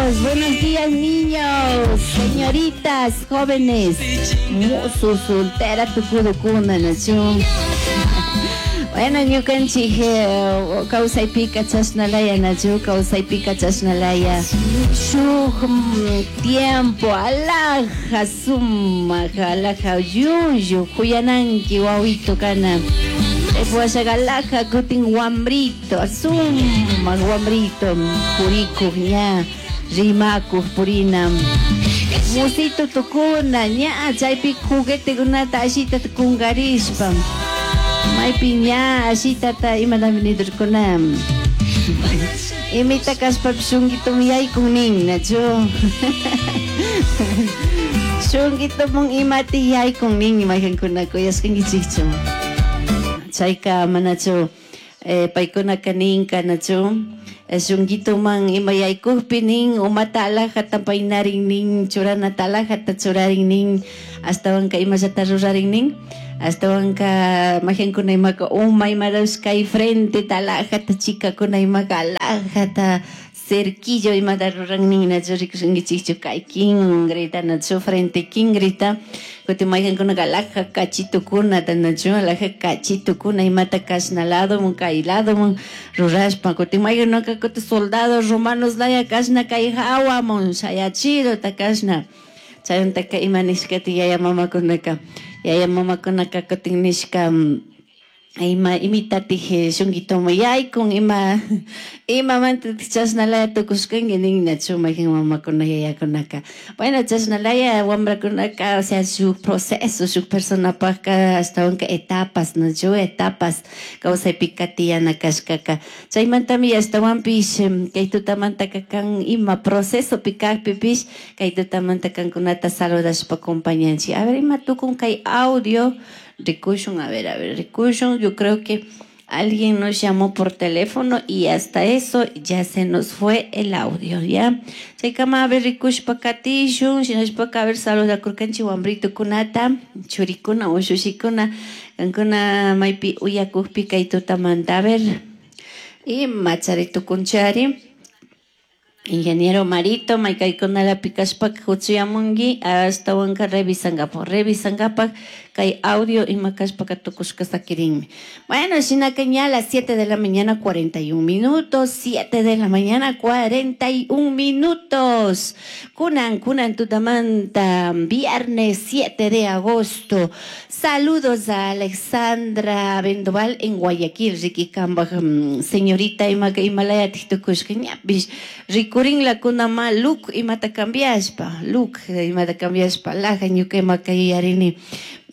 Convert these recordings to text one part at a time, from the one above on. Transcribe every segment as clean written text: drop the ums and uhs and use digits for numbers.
Niños, buenos días, niños, señoritas, jóvenes, musu soltera tukudukuna, nachu. Bueno, ñukanchik kawsaypika chashnalaya, nachu, kawsaypika chashnalaya. Shuk tiempo alaja sumak, alaja llullu, kuyananki wawito kana. Chaypi alaja kutin wambrito, sumak wambrito, purikuk ña, rimakuk purina. Musito tukuna, ña, chaypi juguetekunata ashita kunkarishpa. Maypi ña ashitata imatami nidurkuna. Imita kashpapish shunkitumi yaykun nin, nachu. Shunkitumun imati yaykun nin mayqankuna kuyashkankichikchu. Chayka manachu paykunaka ninka, nachu. Shunkituman ima yaykukpi nin umata alajata paynarin nin, churanata alajata churarin nin, ashtawanka imallata rurarin nin. Ashtawanka mayqankuna imaka uma imarash kay frente alajata chikakuna imaka alajata cerquillo imata ruran nin, nachu rikushankichikchu kay kingrita, nachu frente kingrita. Kutin mayqankunaka alaja kachitukunata, nachu alaja kachitukuna imata kashna ladomun kay ladomun rurashpa. Kutin mayqankunaka kutin soldados romanos laya kashna kay hawamun shayachidota kashna. Chaymantaka ima nishkati yaya mamakunaka, yaya mamakunaka kutin nishka, ima imitatik shunkituman yaykun, ima imamantatik chashnalaya tukushkanki nin, nachu mayqan mamakuna yayakunaka. Bueno, chashnalaya wambrakunaka, o sea, shuk proceso, shuk personapakka ashtawanka etapas, nachu etapas kawsaypika tiyana kashkaka. Chaymantami ashtawanpish kay tutamantaka kan ima procesopi kakpipish kay tutamanta kankunata saludashpa acompañanchik. A ver, ima tukun kay audio rikushun, a ver, rikushun. Yo creo que alguien nos llamó por teléfono y hasta eso ya se nos fue el audio, ¿ya? Chaykama, a ver, rikushpa katishun, shinashpaka, a ver, saludakurkanchik wambritukunata, churikuna, ushushikuna, kankuna maypi uyakukpi kay tutamanta, a ver, ima charitukunchari. Ingeniero Marito, maykaykunalapi kashpaka huchuyamunki, ashtawanka revisankapak, revisankapak kay audio ima kashpaka tukushka sakirinmi. Bueno, shinaka ña a las 7 de la mañana 41 minutos, 7 de la mañana 41 minutos. Kunan, kunan tutamanta, viernes 7 de agosto. Saludos a Alexandra Vendoval en Guayaquil, Ricky Kambaj, señorita ima Himalaya tukushka ñapish, rikurin la kunama look imata cambiashpa, look imata cambiashpa, laja ñuka imaka yuyarini,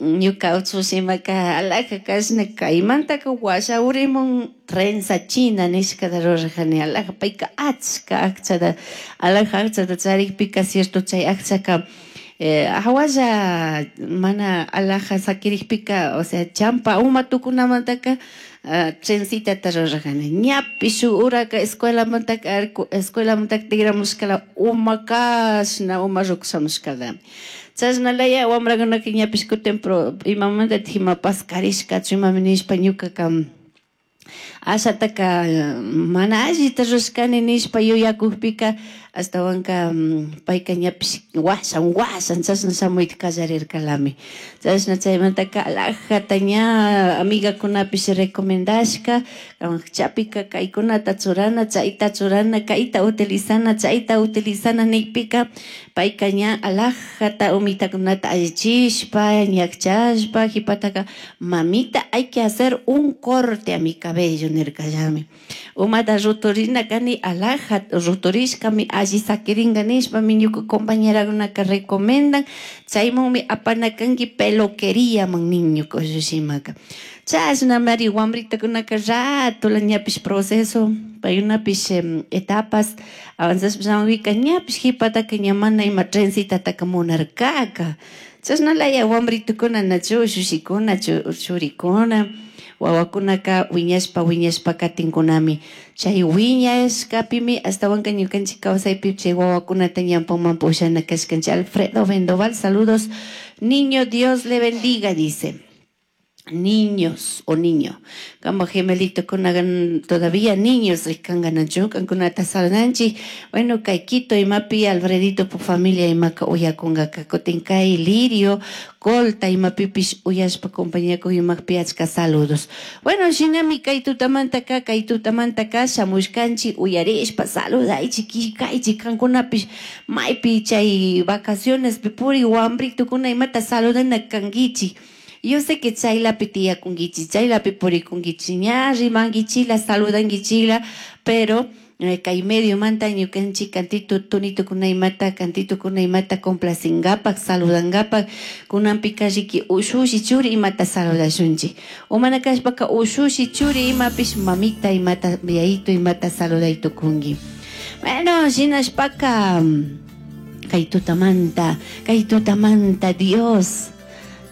ñuka uchushi imaka alaja kashna kaymantaka washa urimun trenza china nishkata rurajani, alaja payka achka akchata, alaja akchata charikpika cierto chay akchaka hawalla mana alaja sakirikpika, o sea, champa uma tukunamantaka trencitata rurajani, ñapish shuk uraka escuelamantaka, escuelamantaka tigramushkala uma kashna uma rukushamushkala. Chashnalaya wambrakunaka ñapish kutin pro imamantatik ima paskarishkachu imami nishpa ñukaka ashataka mana allita rurashkani nishpa yuyakukpika ashtawanka payka ñapish washan washan chashna shamuyta kallarirkalami. Chashna chaymantaka alajata ña amigakunapish recomendashka chapika kaykunata churana, chayta churana, kayta utilizana, chayta utilizana nikpika payka ña alajata umitakunata allichishpa ñakchashpa jipataka mamita hay que hacer un corte a mi cabello nirkallami. Umata ruturina kani alaja ruturishkami alli sakirinka nishpami ñuka compañerakunaka recomendan chaymanmi apanakanki peluqueriaman nin ñuka ushushimaka. Chashnamari wambritakunaka ratola ñapish proceso paykunapish etapas avanzashpa shamuyka ñapish jipataka ña mana ima trencitataka munarkaka. Chashnalaya wambritukuna nachu ushushikuna churikuna wawakunaka wiñashpa wiñashpa katinkunami. Chay wiñashkapimi ashtawanka ñukanchik kawsaypi chay wawakunata ñampanman pushana kashkanchik. Alfredo Vendoval, saludos. Niño, Dios le bendiga, dice. Niños o niño. Kamba gemelitokuna todavía niños rikkanganachu kankunata saludanchik. Bueno, kay Quito imapi Alfredito pu familia imaka uyakunkaka. Kutin kay Lirio, Colta imapipish uyashpa compañía imakpi achka saludos. Bueno, shinami kay tutamantaka, kay tutamantaka shamushkanchik uyarishpa saludaychik, killkaychik kankunapish maypi chay vacacionespi puri wambritukuna imata saludana kankichik. Yo sé que chaylapi tiyakunkichik, chaylapi purikunkichik, ña rimankichikla, saludankichikla, pero kay mediomanta ñukanchik cantito tonitukuna imata, cantitukuna imata complacingapak, saludangapak, kunanpika riki ushushi churi imata saludashunchik. O mana kashpaka ushushi churi imapish mamita imata, yayito imata saluday tukunki. Bueno, shinashpaka kay tutamanta, kay tutamanta Dios.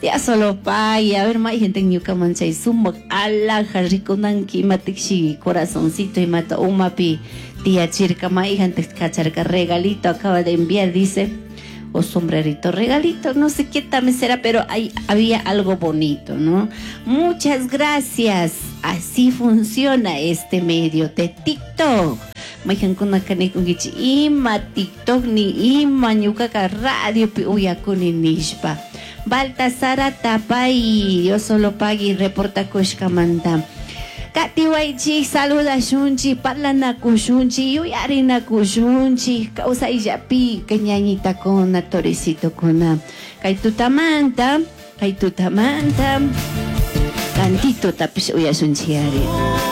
Ya solo pay, a ver, may gente ñukaman chay sumak alhaja rikunanki imatikshi corazoncito imata umapi tiyachirka may gente kacharka regalito acaba de enviar, dice, o sombrerito regalito, no sé qué también será, pero ahí había algo bonito, ¿no? Muchas gracias, así funciona este medio de TikTok. Mayqankunaka nikunkichik ima TikTok ni ima ñukaka radiopi uyakuni nishpa. Baltasara Tapay, Dios solo pagui reportakushkamanta. Katiwaychik, saludashunchik, parlanakushunchik, yuyarinakushunchik, kawsayllapi ñañitakuna, toricitukuna. Kay tutamanta, kay tutamanta, cantito tapish uyashunchik ari.